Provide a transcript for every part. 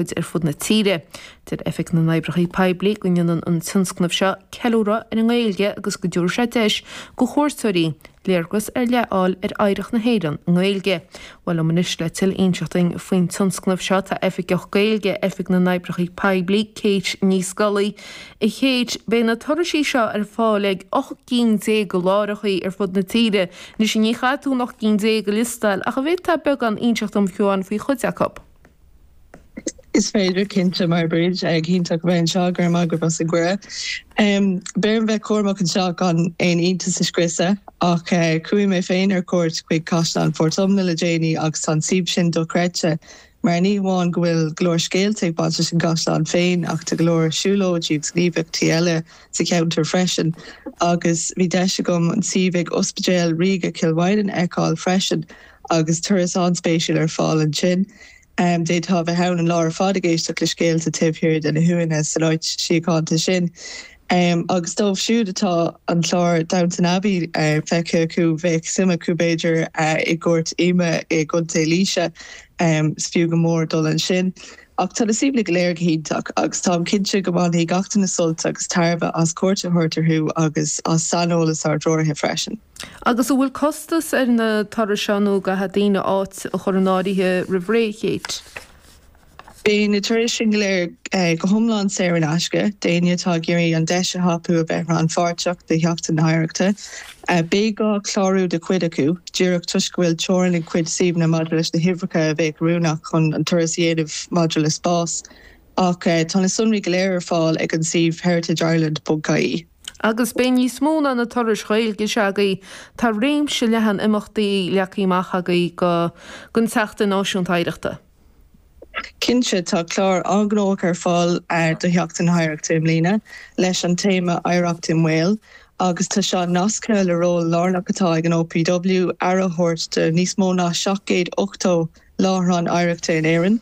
Ar fud na tíre. Deir Oifig na nOibreacha Poiblí go ndéanann an tionscnamh seo ceiliúradh ar an nGaeilge agus go dtabharfaidh sé deis go chuairteoirí léargas ar leith a fháil ar oidhreacht na hÉireann i nGaeilge. Bhuel liom anois le tuilleadh a inseacht dúinn faoin tionscnamh seo tá Oifigeach Gaeilge Oifig na nOibreacha Poiblí, Kate Ní Scolaí. A Kate, beidh na turaisí seo ar fáil ag 18 gcinn de láithreachaí ar fud na tíre. Anois ní chaithfidh tú an 18 gcinn a liostáil ach an bhféadfá beagán a inseacht dom fiú amháin faoi chuid acu? Is féidir, cinnte, mar Bríd, go hiontach a bheith anseo, go raibh maith agaibh as an gcuireadh. Beidh orm bheith cúramach anseo gan aon iontas a scriosadh, ach chuaigh mé féin ar cuairt chuig Caisleán Phort Omna le déanaí agus tá an suíomh sin dochreidte mar ní hamháin go bhfuil go leor scéalta ag baint leis an gcaisleán féin ach tá go leor siúlóidí agus gníomhaíochtaí eile sa cheantar freisin agus bhí deis agam an suíomh ag Ospidéal Ríoga Chill Mhaighneann a fheiceáil freisin. agus turas an-spéisiúil ar fáil ansin. D'fhéadfá a bheith ann an lá ar fad ag éisteacht le scéalta taobh thiar de na huaigheanna san áit síochánta sin. Agus dóibh siúd atá an clár Downton Abbey feicthe acu, bheadh suim acu b'fhéidir i gCúirt Ime i gContae Laoise. Is fiú go mór dul ansin. Ach tá na suíomhanna go léir go hiontach agus táim cinnte go mbainfidh gach duine sult agus tairbhe as cuairt a thabhairt orthu agus as saineolas ár dtreoraithe freisin. Agus an bhfuil costas ar na turais seo nó an gcaithfidh daoine áit a chur in áirithe roimh ré, a Kate? Beidh na turais sin go léir go hiomlán saor in aisce d'éinne atá ag iarraidh an deis a thapú a bheith rannpháirteach do Sheachtain na hOidhreachta. Beidh gá clárú do chuid acu, díreach toisc go bhfuil teorainn ag cuid suíomhanna maidir leis na huimhreacha a bheadh oiriúnach chun an turas a dhéanamh maidir le spás. Ach tá na sonraí go léir ar fáil ag an suíomh heritageireland.ie. Agus beidh níos mó ná na turais Ghaeilge seo agaibh, tá réimse leathan imeachtaí leagtha amach agaibh go don tSeachtain Náisiúnta Oidhreachta. Cinnte, tá clár an-ghnóthach ar fáil do Sheachtain na hOidhreachta i mbliana, leis an téama 'Oidhreacht i mBaol' agus tá seo nasctha le ról lárnach atá ag an OPW aire a thabhairt do níos mó ná 780 láithreán oidhreachta in Éirinn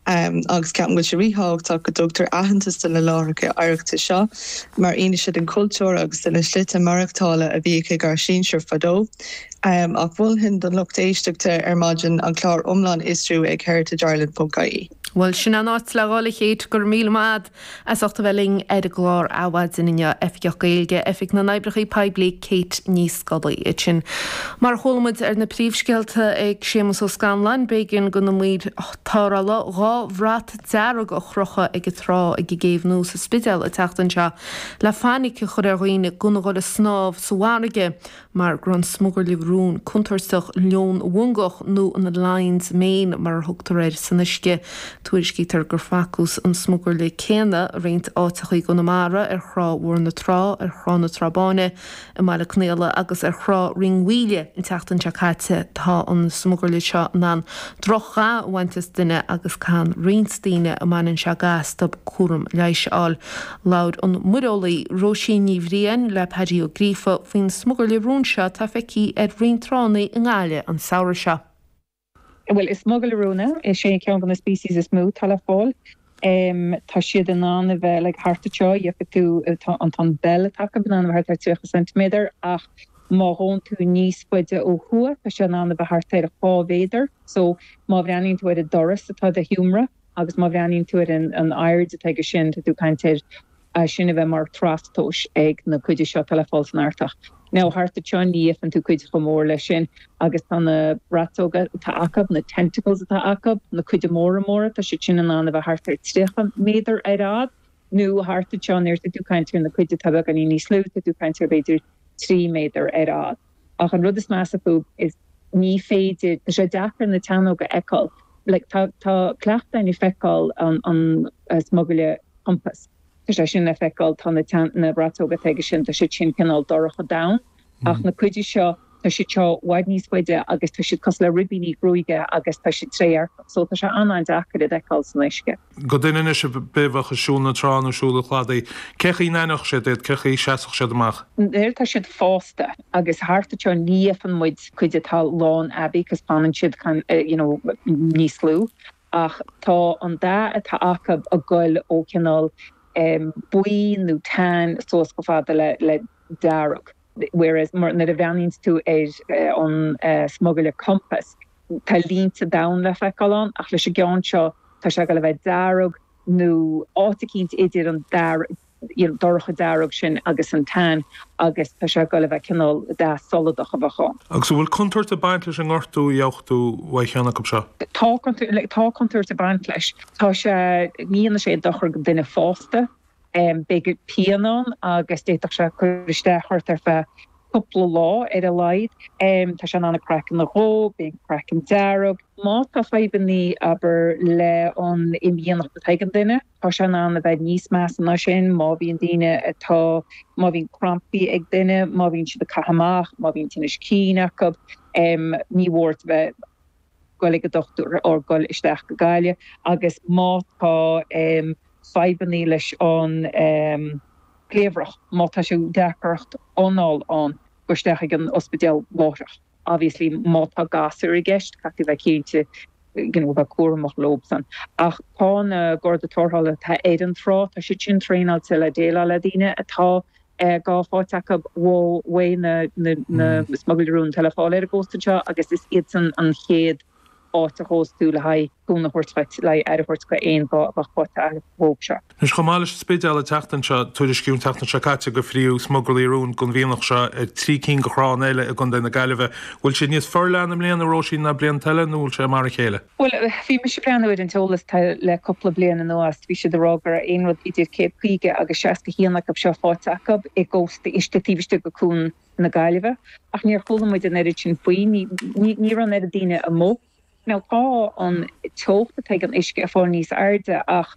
agus ceapaim go bhfuil sé ríthábhachtach go dtugtar aitheantas do na láithreacha oidhreachta seo mar fhianaise den chultúr agus de na slite maireachtála a bhíodh ag ár sinsir fadó. Ach mholfainn don lucht éisteachta ar maidin an clár iomlán a fhiosrú ag heritageireland.ie. Bhuel, sin an áit le dhul, a Kate, go raibh míle maith a'd as ucht a bheith linn ar an gclár Adhmhaidin inniu, Oifigeach Gaeilge, Oifig na nOibreacha Poiblí, Kate Ní Scolaí. Ansin, mar a chuala muid ar na príomhscéalta ag Séamus Ó Scanláin, b'éigean do na maoir tarrthála 2 bhrat dearg a chrochadh ag an trá ag an gCéibh Nua sa Spidéal an tseachtain seo le fainic a chur ar dhaoine gan a dhul ag snámh sa bhfarraige. mar go raibh an smugairle rúin contúirteach leon mhongach nó an lion's mane mar a thugtar air san uisce. Tuairiscítear gur facthas an smugairle céanna i roinnt áiteacha i gConamara, ar Thrá Mhór na Trá, ar Thrá na Trá Báine i mBaile Conaola agus ar Thrá Rinn Mhaoile an tseachtain seo caite. Tá an smugairle seo in ann droch-dhath a bhaint as duine agus caitheann roinnt daoine a mbaineann sé ga astu cúram leighis a fháil. Labhair an muireolaí Róisín Ní Bhriain le Paddy Ó Gríofa faoin smugairle rúin seo atá feicthe ar roinnt tránna i nGaillimh an samhradh seo. Bhuel, is smugairle rúin é. Is é ceann de na species is mó atá le fáil. Tá siad in ann a bheith like thart anseo, gheobhaidh tú, tá an tá an bell atá acu in ann a bheith thart ar 30 ceintiméadar ach má ghóann tú níos faide ó thuaidh tá sé in ann a bheith thart ar 2 mhéadar. So má bhreathnaíonn tú ar an doras atá i do sheomra, Agus má bhreathnaíonn tú ar an airde atá aige sin, tá tú ag caint ar é sin a bheith mar trastomhas ag na cuide seo atá le fáil san Artach. Now, thart anseo ní fheicfeann tú cuid chomh mór leis sin agus tá na braiteoga atá acu, na tentacles atá acu, na cuide móra móra, tá siad sin in ann a bheith thart ar 30 méadar ar fhad. Nó thart anseo nuair atá tú ag caint ar na cuid atá beagáinín níos lú, tá tú ag caint ar b'fhéidir 3 méadar ar fhad. Ach an rud is measa fúthu is ní féidir, tá sé deacair na teannóga a fheiceáil. Like tá, tá cleachtadh againn ag feiceáil an, an smugairle compass. Tá sé sin le feiceáil, tá na teann, na braiteoga atá aige sin, tá siad sin cineál dorcha donn. Ach na cuide seo, tá siad seo i bhfad níos faide agus tá siad cosúil le ribíní gruaige agus tá siad trédhearcach. So tá sé an-an-deacair iad a fheiceáil san uisce. Do dhuine anois a bheadh ag siúl na trá nó siúl an chladaigh, cé chaoi n-aithneodh siad iad, cé chaoi seasfadh siad amach? Nuair atá siad fásta agus thart anseo ní fheicfeann muid cuid atá lán aibí cos fanann siad you know níos lú ach tá an dath atá acu ag goil ó chineál buí nó tan suas chomh fada le le dearg whereas nuair a bhreathnaíonns tú ar an smugairle compass tá línte donn le feiceáil ann ach leis an gceann seo. Tá sé ag goil a bheith dearg nó áit eicínt idir an dearg, you know, dorcha dearg sin agus an tan agus tá sé ag goil a bheith cineál dath soladach a bheadh ann. Agus an bhfuil contúirt ag baint leis an ngortú a gheobhadh tú uaidh cheann acu seo? Tá contúirt, tá contúirt ag baint leis. Tá sé, ní dhéanfaidh sé dochar go duine fásta. Beidh pian ann agus d'fhéadfadh sé cur isteach ort ar feadh cúpla lá ar a laghad. Tá sé in ann an craiceann a dhó, bíonn craiceann dearg. Má tá fadhbannaí, abair, le an imdhíonacht atá ag an duine, tá sé in ann a bheith níos measa ná sin. Má bhíonn daoine atá, má bhíonn crampaí ag duine, má bhíonn siad ag caitheamh amach, má bhíonn tinnis cinn acu, ní mór a bheith goil ag an dochtúir or goil isteach go Gaillimh agus má tá fadhbannaí leis an gcliabhrach, má tá sé deacracht anáil ann, goil isteach ag an ospidéal láithreach. Obviously má tá gasúir i gceist, caithfidh tú bheith cinnte you know bheith cúramach leobsan. Ach tá na Garda Tarrthála atá ar an trá, tá siad sin traenáilte le déileáil le daoine atá gá faighte acu uaidh na smugairle rún atá le fáil ar an gcósta anseo agus is iadsan an chéad áit a ghabhfas tú le haghaidh cúnamh a thabhairt dhuit, le haghaidh aire a thabhairt go aon ghá a bheadh faighte agat uathu seo. Anois, chomh maith leis an Spidéal an tseachtain seo, tuairiscíodh an tseachtain seo caite gur fríothadh smugairlí rúin den mhianach seo ar thrí cinn de thránna eile i gContae na Gaillimhe. Bhfuil siad níos forleithne i mbliana, a Róisín, ná blianta eile nó bhfuil sé mar a chéile? Bhuel, bhí mise ag breathnú ar an t-eolas atá le cúpla bliain anuas. Bhí siad ag rá go raibh aon rud idir 150 agus 61 acu seo faighte acu i gcósta istigh taobh istigh de Cuan na Gaillimhe. Ach níor chuala muid an oiread sin faoi. Ní ní raibh an oiread daoine amuigh. Now tá an teocht atá ag an uisce ag fáil níos airde ach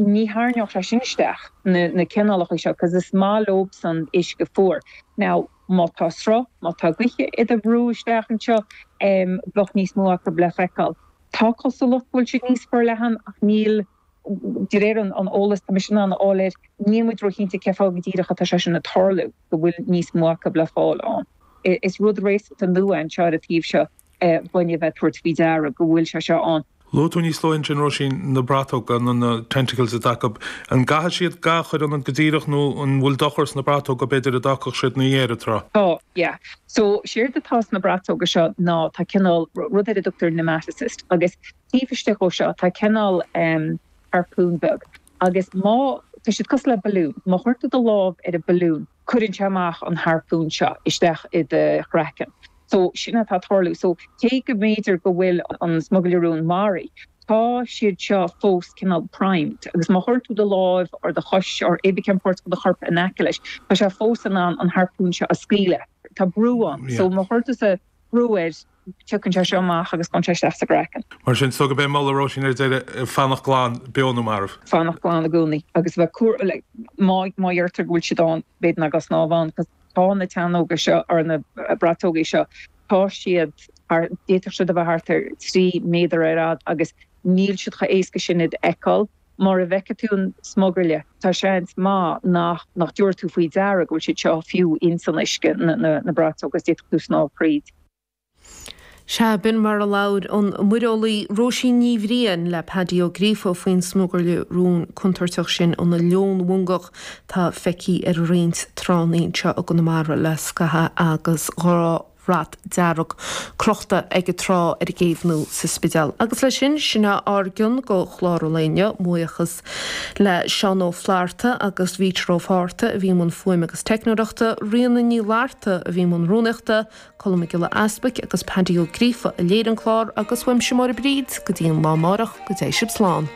ní tharraingeodh sé sin isteach na na cineálacha seo 'cause is maith leobsan uisce fuar. Now má tá sruth, má tá gaoithe iad a bhrú isteach anseo, bheadh níos mó acu le feiceáil. Tá cosúlacht go bhfuil siad níos forleathan ach níl, de réir an eolas tá mise in ann a fháil air, níl muid róchinnte cé fáth go díreach atá sé sin ag tarlú, go bhfuil níos mó acu le fáil ann. Is rud réasúnta nua anseo ar an taobh seo dhúinne a bheith ag tabhairt faoi deara go bhfuil sé seo ann. Luaigh tú níos luaithe ansin, Róisín, na bratóga, nó na tentacles atá acu. An gcaithfidh siad ga a chur ionat go díreach nó an bhfuil dochar sna bratóga, b'fhéidir, a d'fhágfadh siad ina dhiaidh ar an trá? Tá, yeah. So, séard atá sna bratóga seo ná tá cineál, rud ar a dtugtar nematocyst, agus taobh istigh dhó seo tá cineál em harpoon beag agus má, tá siad cosúil le balún, má chuireann tú do lámh ar an balún, cuireann sé amach an harpoon seo isteach i do chraiceann. So, sin atá ag tarlú. So, cé go mb'fhéidir go bhfuil an smugairle rúin maraithe, tá siad seo fós cineál primed agus má chuireann tú do láimh or do chois or cibé cén páirt de do chorp in aice leis, tá sé fós in ann an harpoon seo a scaoileadh. Tá brú ann. So, má chuireann tusa brú air, tiocfaidh sé seo amach agus gabhann sé isteach sa gcraiceann. Mar sin, is dóigh gurb é moladh Róisín ar deireadh, fanacht glan, beo nó marbh. Fanacht glan i gcónaí agus a bheith cúramach, like, má, má dheirtear go bhfuil siad ann, b'fhéidir ná gabh ag snámh ann, 'cause Tá na teannóga seo, or na bratógaí seo, tá siad thar, d'fhéadfadh siad a bheith thart ar 3 méadar ar fhad agus níl siad chomh éasca sin iad a fheiceáil. Mura bhfeicfidh tú an smugairle, tá seans maith nach, nach dtabharfaidh tú faoi deara go bhfuil siad seo fiú ins an uisce, na, na, na bratóga, agus d'fhéadfadh tú snámh thríd. Sea, b'in mar a labhair an muireolaí Róisín Ní Bhriain le Paddy Ó Gríofa faoin smugairle rúin contúirteach sin, an leonmhongach, atá feicthe ar roinnt tránna anseo i gConamara le scaitheamh agus 2 bhrat dearg crochta ag an trá ar an gcéibh nó sa Spidéal. Agus leis sin, sin é ár gcion go chlár an lae inniu. Mo bhuíochas le Seán Ó Flatharta agus Vítear Ó Fátharta a bhí i mbun fuaime agus teicneoireachta, Ríona Ní Fhlatharta a bhí i mbun rúnaíochta, Colm Mac Giolla Easbuic agus Paddy Ó Gríofa a léirigh an clár agus uaimse Máire Bríd go dtí an lá amárach go dté sibh slán.